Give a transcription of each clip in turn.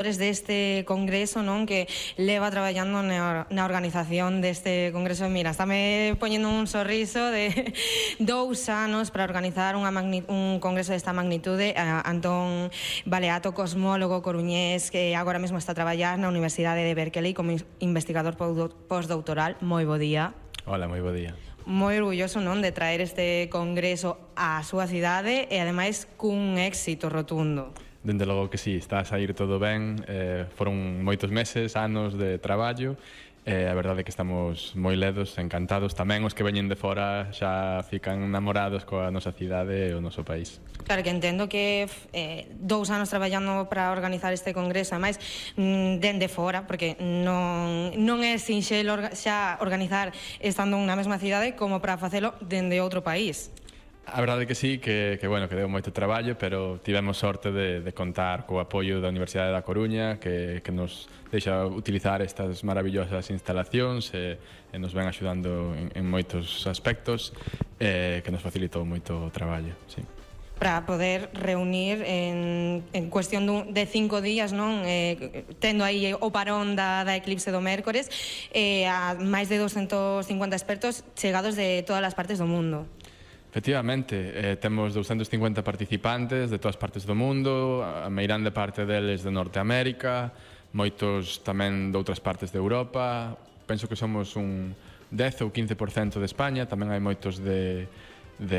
deste congreso, non, que leva traballando na organización deste congreso. Mira, estáme poñendo un sorriso de 2 anos para organizar un congreso desta magnitude. Antón Baleato, cosmólogo coruñés, que agora mesmo está a traballar na Universidade de Berkeley como investigador postdoctoral. Moi bo día. Hola, moi bo día. Moi orgulloso, non, de traer este congreso á súa cidade e ademais cun éxito rotundo. Dende logo que sí, está a sair todo ben, foron moitos meses, anos de traballo, a verdade é que estamos moi ledos, encantados, tamén os que veñen de fora xa fican enamorados coa nosa cidade e o noso país. Claro que entendo que 2 anos traballando para organizar este congreso, ademais dende fora, porque non é sinxelo xa organizar estando na mesma cidade como para facelo dende outro país. A verdade é que sí, que deu moito traballo, pero tivemos sorte de contar co apoio da Universidade da Coruña, que nos deixa utilizar estas maravillosas instalacións e nos ven axudando en moitos aspectos, que nos facilitou moito o traballo, sí. Para poder reunir en cuestión de 5 días, non, tendo aí o parón da eclipse do mércores, a máis de 250 expertos chegados de todas as partes do mundo. Efectivamente, temos 250 participantes de todas partes do mundo, a meirande parte deles de Norteamérica, moitos tamén de outras partes de Europa, penso que somos un 10 ou 15% de España, tamén hai moitos de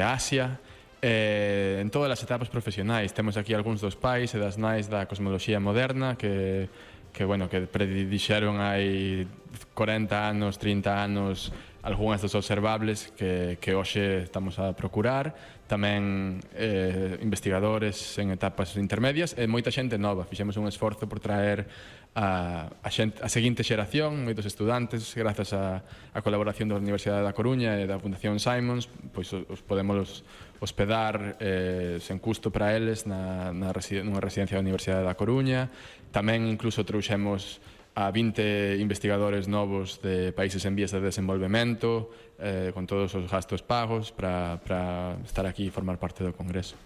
Asia, en todas as etapas profesionais. Temos aquí algúns dos pais e das nais da cosmoloxía moderna que predixeron hai 40 anos, 30 anos algunhas dos observables que hoxe estamos a procurar, tamén investigadores en etapas intermedias e moita xente nova. Fixemos un esforzo por traer a seguinte xeración, moitos estudantes, grazas á colaboración da Universidade da Coruña e da Fundación Simons, pois os podemos hospedar sen custo para eles nunha residencia da Universidade da Coruña. Tamén incluso trouxemos a 20 investigadores novos de países en vías de desenvolvemento, con todos os gastos pagos para estar aquí e formar parte do Congreso.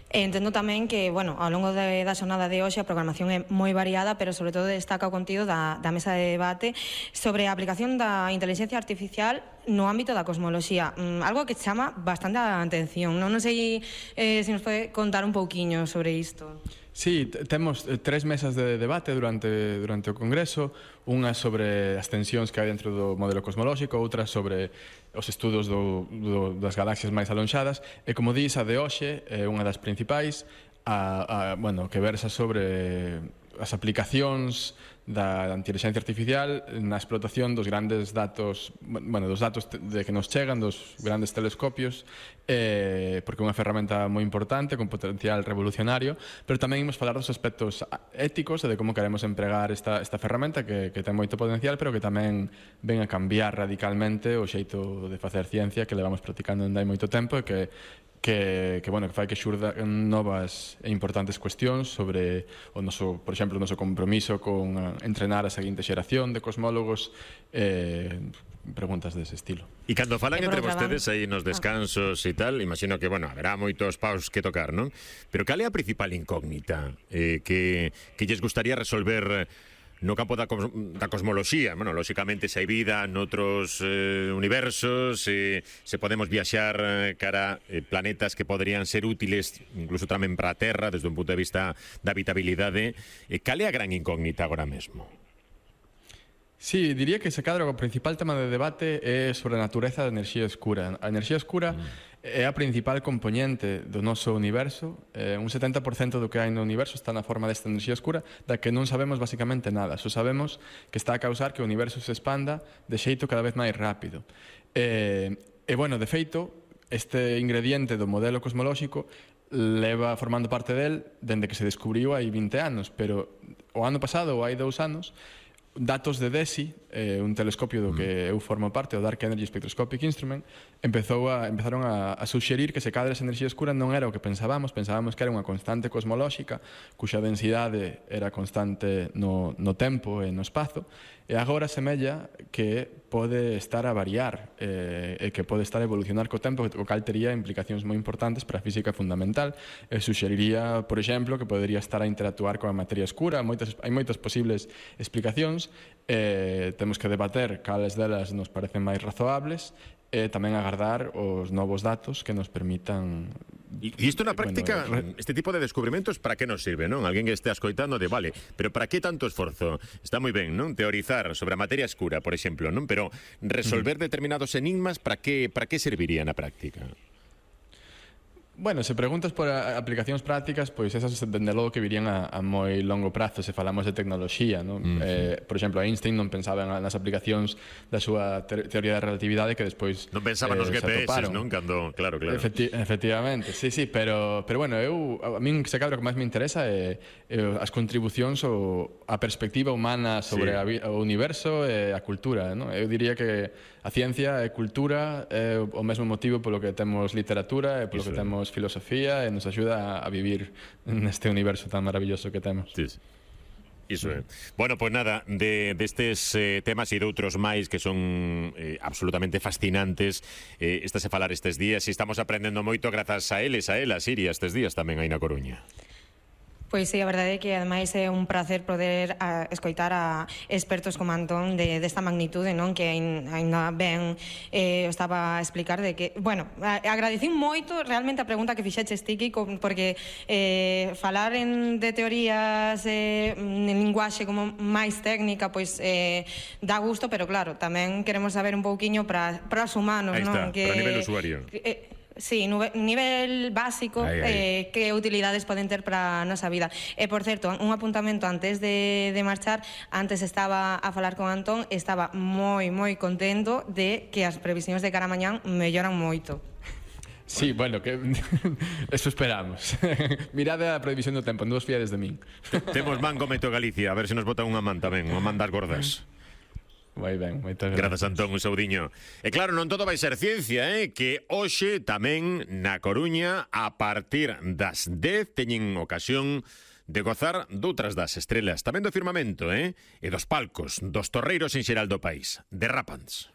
Entendo tamén que, ao longo da xornada de hoxe a programación é moi variada, pero sobre todo destaca o contido da mesa de debate sobre a aplicación da inteligencia artificial no ámbito da cosmoloxía, algo que chama bastante a atención. Non sei se nos pode contar un pouquiño sobre isto. Sí, temos 3 mesas de debate durante o Congreso, unha sobre as tensións que hai dentro do modelo cosmolóxico, outra sobre os estudos das galaxias máis alonxadas, e como dís, a de hoxe é unha das principais, que versa sobre as aplicacións da inteligencia artificial na explotación dos grandes datos, dos datos que nos chegan dos grandes telescopios, porque é unha ferramenta moi importante, con potencial revolucionario, pero tamén imos falar dos aspectos éticos e de como queremos empregar esta ferramenta que ten moito potencial, pero que tamén ven a cambiar radicalmente o xeito de facer ciencia que levamos practicando dende hai moito tempo e que fai que xurdan novas e importantes cuestións sobre por exemplo, o noso compromiso con entrenar a seguinte xeración de cosmólogos, preguntas dese estilo. E cando falan entre vostedes aí nos descansos e tal, imagino que, haberá moitos paus que tocar, non? Pero cal é a principal incógnita que lles gustaría resolver no campo da cosmoloxía? Lóxicamente, se hai vida noutros universos, se podemos viaxar cara a planetas que poderían ser útiles incluso tamén para a Terra desde un punto de vista da habitabilidade. Cal é a gran incógnita agora mesmo? Sí, diría que se cadra o principal tema de debate é sobre a natureza da enerxía escura. A enerxía escura é a principal componente do noso universo. Un 70% do que hai no universo está na forma desta enerxía escura, da que non sabemos basicamente nada. Só sabemos que está a causar que o universo se expanda de xeito cada vez máis rápido. De feito, este ingrediente do modelo cosmolóxico leva formando parte del dende que se descubriu hai 20 anos, pero o ano pasado, ou hai 2 anos, datos de DESI, un telescopio do que eu formo parte, o Dark Energy Spectroscopic Instrument, empezaron a suxerir que se cadra esa enerxía escura non era o que pensábamos que era unha constante cosmolóxica cuxa densidade era constante no tempo e no espazo, E agora semella que pode estar a variar e que pode estar a evolucionar co tempo, o cal tería implicacións moi importantes para a física fundamental. E suxeriría, por exemplo, que podería estar a interactuar coa materia escura. Hai moitas posibles explicacións. Temos que debater cales delas nos parecen máis razoables e tamén agardar os novos datos que nos permitan... E isto na práctica, este tipo de descubrimentos, para que nos sirve, non? Alguén que este ascoitando de, vale, pero para que tanto esforzo? Está moi ben, non? Teorizar sobre a materia escura, por exemplo, non? Pero resolver determinados enigmas, para que serviría na práctica? Bueno, se preguntas por aplicacións prácticas, pois esas dende logo que virían a moi longo prazo se falamos de tecnoloxía, non? Por exemplo, Einstein non pensaba nas aplicacións da súa teoría da relatividade que despois non pensaba nos GPS, non? Cando, claro. Efectivamente, sí, pero bueno, a min se cadra o que máis me interesa é as contribucións ou a perspectiva humana sobre o universo e a cultura, non? Eu diría que a ciencia e cultura é o mesmo motivo polo que temos literatura e polo que temos filosofía e nos axuda a vivir neste universo tan maravilloso que temos. Sí. Iso é. Bueno, pois nada, destes temas e de outros máis que son absolutamente fascinantes, estás a falar estes días e estamos aprendendo moito grazas a eles, a elas, Iria, estes días tamén aí na Coruña. Pois sí, a verdade é que ademais é un placer poder escoitar a expertos como Antón desta magnitude, non? Que ainda ben estaba a explicar de que, bueno, agradecín moito realmente a pregunta que fixeches ti, Kiko, porque falar de teorías en linguaxe como máis técnica, pois dá gusto, pero claro, tamén queremos saber un pouquiño para os humanos, Aí está, non? para nivel usuario. Sí, nivel básico, que utilidades poden ter para a nosa vida. E, por certo, un apuntamento antes de marchar, antes estaba a falar con Antón, estaba moi contento de que as previsións de cara a mañán melloran moito. Sí, bueno, que eso esperamos. Mirade a previsión do tempo, non vos fiades de min. Temos man como Meto Galicia, a ver se nos botan unha man tamén, unha man das gordas. Moi ben, moitas grazas, Antón, un saudiño. E claro, non todo vai ser ciencia, que hoxe tamén na Coruña a partir das 10 teñen ocasión de gozar doutras das estrelas, tamén do firmamento, e dos palcos, dos torreiros en xeral do país. Derrápanse.